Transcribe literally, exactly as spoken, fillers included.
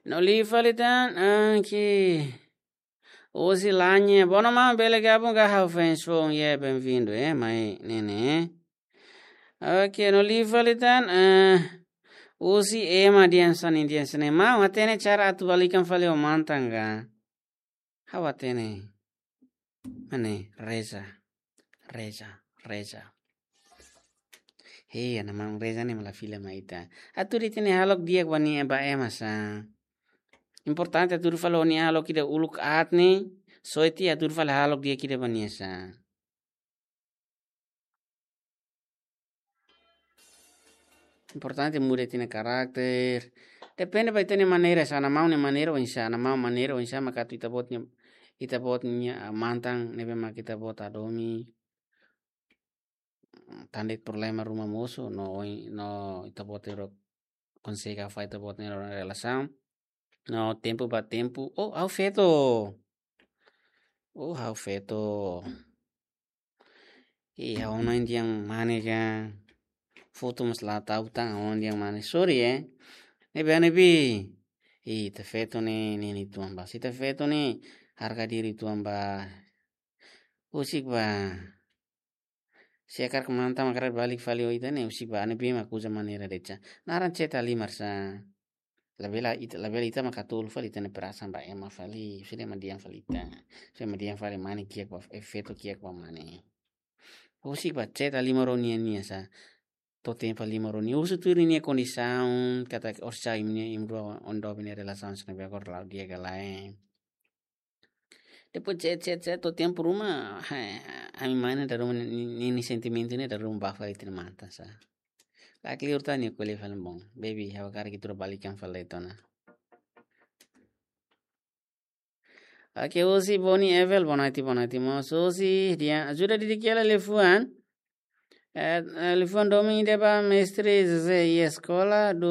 No liu fali tan, ah, ke. Uzi lanya, bono ma bele gabung ka ha'u fans foun, yeah, bem-vindo, eh, mai nene. Ok, no liu fali tan, eh, uzi ema dian sani, dian sani. Maun hatene cara atu balikan fali ho mantan ka. Ha'u hatene. Mane, reza, reza, reza. Hei, ana maun reza ne'e mak la fila mai ita. Atu di tene halok di'ak ba nia ba ema sa. Importante atu fali nia halok ida uluk aat ne'e, soiti atu fali halok di'ak ida ba nia sa. Importante muda ita-nia karakter. Depende ba ita-nia maneira, sa ana maun nia maneira oinsá, ana maun maneira oinsá, maka atu ita-boot nia, ita-boot nia, ah, mantan, ne'ebé mak ita-boot hadomi. Tan de'it problema ruma mosu, no oin, no ita-boot ro konsege fai ita-boot nia relasaun. No tempu ba tempu, oh, ha'u feto. Oh, ha'u feto. Ih, ha'u ona indian mane ka. Foto mós la tau tan, ha'u ona indian mane. Sorry, eh. Ne'ebé, ne'ebé. Ih, ita feto ne'e, ne'e, ne'e tuan ba. Se ita feto ne'e, harga diri tuan ba. Husik ba. Se hakarak mantan mak hakarak balik fali ho ita ne'e, husik ba, ne'ebé mak uza maneira de'it sa. Naran chat halimar sa. Labele ita, labele ita mak hatún fali ita-nia perasaan ba ema fali, sira mak dehan fali ita. Sira mak dehan fali mane kiak ba, eh, feto kiak ba mane. Husik ba chat halimar ho nia-nia sa. To'o tempu halimar ho nia. Husu tuir nia kondisaun, katak orsida imi-nia, imi rua oin doben nia relasaun sira-ne'ebé agora la'o di'ak ka lae. Depois chat, chat, chat, to'o tempu ruma, ha, ami mane dala ruma ni, ni, ni sentimentu ne'e dala ruma ba fali ita-nia mantan sa. La kleur tan nia ko'alia fali maun. Baby, ha'u hakarak ita rua balikan fali de'it ona. Oke, Uzi Boni Evel, boa noite, boa noite, moço. Uzi, dia, ajuda Didi Kiala liafuan. Eh, eh, liafuan domin ida ba mestre José, iha eskola durante